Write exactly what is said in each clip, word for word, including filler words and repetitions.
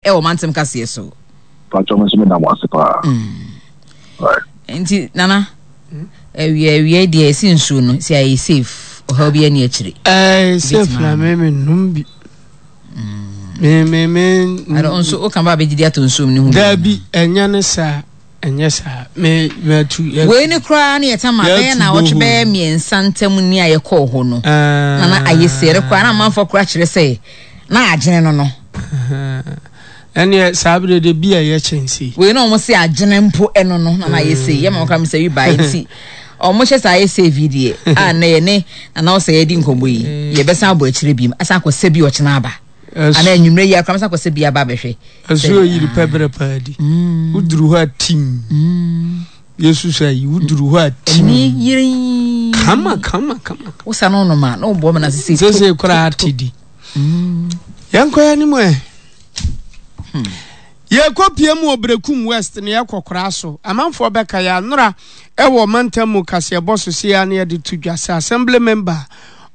Ɛwɔ Mantam Kaseɛ so. Patro, me nso meda mo ase paa. Right. Nti Nana, awia awia deɛ, ɛsi nsuo no si ayɛ safe, ɔhaw bi ani akyire. Ɛɛ, safe na me me num bi. Me me me. Ade nso woka ba abɛgyidi atɔ nsuom ne ho bi. Dabi, ɛnyɛ ne saa, ɛnyɛ saa. Me me atu. Wei ne koraa ne yɛta ma bɛyɛ na wɔtwe bɛyɛ mmiɛnsa ntam ni a yɛkɔɔ hɔ no. Nana, ayɛ sere koraa na amanfoɔ koraa kyerɛ sɛ na agyene no no. Ɛneɛ saa bere de bi a ɛyɛ kyɛnse. Wei na ɔmo se agyene mpo ɛno no na na ayɛ sei yɛ ma ɔkora mi sɛ wi baa, nti ɔmo hyɛ saa ayɛ save yi deɛ a, nnɛ yɛ ne Nana ɔsɛ yɛdi nkɔmmɔ yi, yɛbɛsan abɔ akyire bi asan akɔ sɛ bi ɔkyena aba ana anwummerɛ yi akora mɛsan akɔ sɛ bi aba abɛhwɛ. Ɛso yiri pɛ berɛ paa di. Woduru hɔ a, tim. Yesu sɛ yi woduru hɔ a, tim. Ɛni yiri. Kama kama kama. Wosa no nom a na wobɔ me na sese. Sese koraa te di. Yɛnkɔ yɛn anim ɛ. Yɛkɔ pie mu wɔ Brekum West na yɛkɔ koraa so. Amanfoɔ bɛka yɛ anora ɛwɔ mantam mu kaseɛbɔ so se ya na yɛde to dwa sɛ assembly member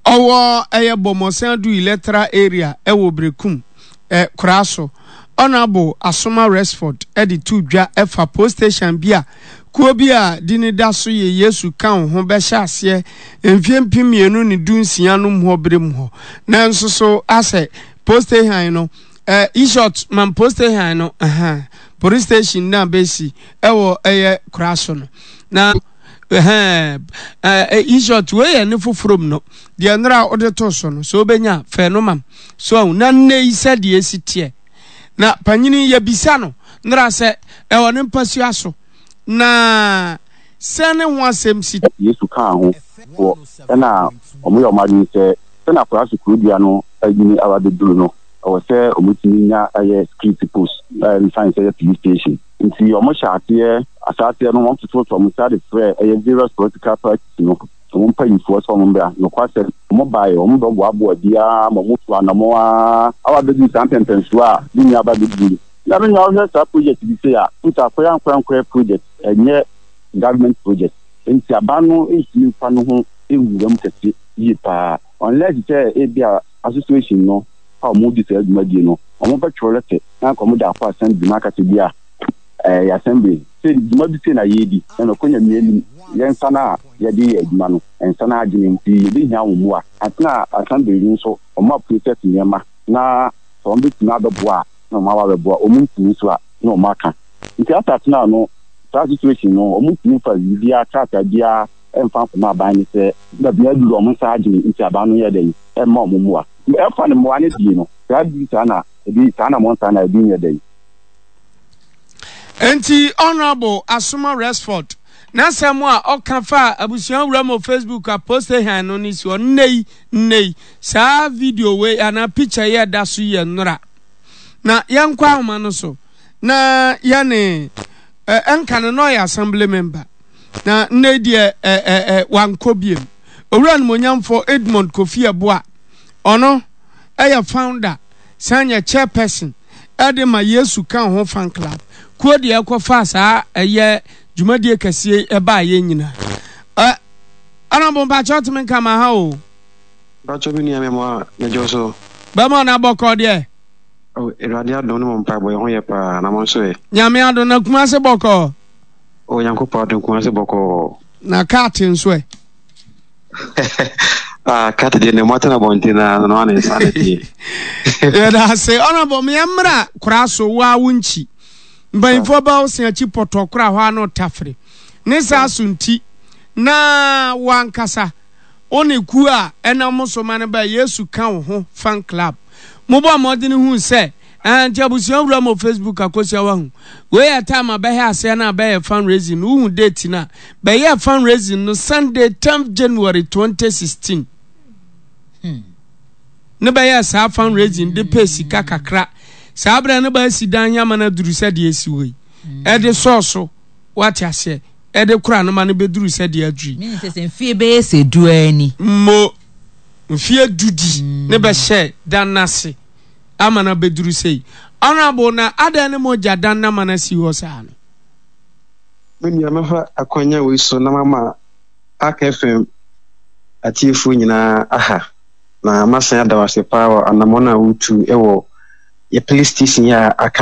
ɔwɔ ɛyɛ Bɔmmɔsan Du electoral area ɛwɔ Brekum ɛ koraa so, Honourable Asoma Resford, ɛde to dwa ɛfa post station bi a kuo bi a di ne da so yɛ Yesu Ka Wo Ho bɛhyɛ aseɛ mfie mpem mmienu ne du nsia no mu hɔ bere mu hɔ. Nanso so asɛ post station no ɛ in man post station no ɛhɛn police station na bɛsi ɛwɔ ɛyɛ koraa so no na ɛhɛn ɛ in short, wei yɛ ne foforɔ mu no deɛ nnora a wode to so no so wobɛnya fɛ no mam so ahu na nnɛ yi sɛdeɛ esi teɛ na panyini yɛbisa no nnora sɛ ɛwɔ ne mpasua so na sɛ ne ho asɛm si. Yesu Kaa Ho foɔ ɛna wɔn yɛ wɔn adwene sɛ sɛnea akwadaa so kurodua no anyini aba abɛduru no, ɛwɔ sɛ wɔtumi nya ɛyɛ security post a ɛmfa sɛ ɛyɛ police station. Nti wɔn hyɛ aseɛ ahyɛ no, wɔn tototo wɔn nsa de frɛ ɛyɛ various political parties no wɔn mpanyinfoɔ sɛ wɔn mbra. Nokwasɛm, wɔn baeɛ, wɔn bɛboaboa biara ma wɔn tu anamɔ a awa abɛduru saa mpɛmpɛnsoɔ a ne nua aba abɛduru yi. Na me nua, wohwɛ saa project bi sei a, nti akɔyɛ ankorankorɛ project, ɛnyɛ government project, nti aban no ntumi nfa ne ho nwura mu kɛse yie paa unless sɛ ebi a association no a wɔn di saa dwumadie no, wɔn bɛtwerɛ letter na nka wɔn de akɔ assembly na akasa bi a ɛyɛ assembly sɛ dwuma bi sei na yɛredi na nɔkɔ Nyame anim, yɛn nsa no a yɛde yɛ adwuma no nsa no agyene, nti yɛbɛhia wɔn mmoa atena assembly no nso wɔn a process nneɛma na sɛ wɔn bɛtumi abɛboa a, na wɔn aba abɛboa. Wɔn ntumi nso a, na wɔn aka. Nti asa atena no saa situation no, wɔn ntumi nfa biribiara krataa biara ɛmfa nkɔmɔ aban no sɛ baabi aduru wɔn nsa agyene, nti aban no yɛ dɛ ɛmma wɔn mmoa ɛfa ne mmoa no die no saa bi saa na ebi saa na wɔn nsa na ebi nyɛ dɛ. Nti Honourable Asoma Resford n'asɛm a ɔka fa abusua wura mu Facebook a post han no ne si hɔ nnɛ yi. Nnɛ yi saa video wei anaa picture yi a ɛda so yɛ nnora na yɛnkɔ ahoma no so na yɛne ɛnka no na ɔyɛ assembly member na nnɛ yi deɛ ɛ ɛ ɛ wankɔ biem. Owura Nomonyamfo Edmond Kofi Ɛboa, ɔno ɛyɛ founder san yɛ chairperson ɛde ma Yesu Ka Ho Fan Club kuo deɛ ɛkɔfa saa ɛyɛ dwumadie kɛseɛ ɛbaa yɛn nyinaa. Ɛ ɔnabɔ mpakyɛ ɔtumi nka ma ha o. Mpakyɛ, bi nua, mɛmɔ a mɛgye so. Bɛma ɔna bɔkɔ deɛ. Oh, Awurade adom ne mo mpaebɔ, yɛ ho yɛ paa, na mo nso ɛ? Nyame adom. Na Kumase bɔkɔ? Oh, Nyankopɔn adom, Kumase bɔkɔɔ. Na kaate nso ɛ? Ah, kaate deɛ ne mo atena abɔnten na no ana nsa na tie. Yɛda ase, ɔnabɔ meɛmmra koraa so wo a wo nkyi mpanyimfoɔ bɛ wo se akyi pɔtɔ kora hɔ a na ɔtafere ne saa so, nti na wankasa wo ne kuo a ɛnam so ma no ba Yesu Ka Wo Ho Fan Club mobɔ mmɔden hu sɛ ɛɛ nti abusua wura mo Facebook akosia wahu wei yɛ time a bɛhɛ aseɛ no a bɛyɛ fundraising no. Wohu date no a bɛyɛ fundraising no, Sunday tenth January twenty sixteen ne bɛyɛ saa fundraising de pɛ sika kakra. Saa berɛ no bɛasi dan yama no aduru sɛ deɛ ɛsi hɔ yi, ɛde sɔɔ wate aseɛ, ɛde kora no ma no bɛduru sɛ deɛ aduru yi. Meaning sɛ mfie bɛyɛ sɛ du ani. Mo mfie du di ne bɛhyɛ dan n'ase ama no bɛduru sɛ yi. Honorable, na adan ne mogya dan na ma no asi hɔ saa no? Me nua, mɛfa akwanya wei so na mama Aka F M atiefoɔ nyinaa aha na masan ada wo ase paa wɔ anammɔn a wotu wɔ yɛ police station yi a aka.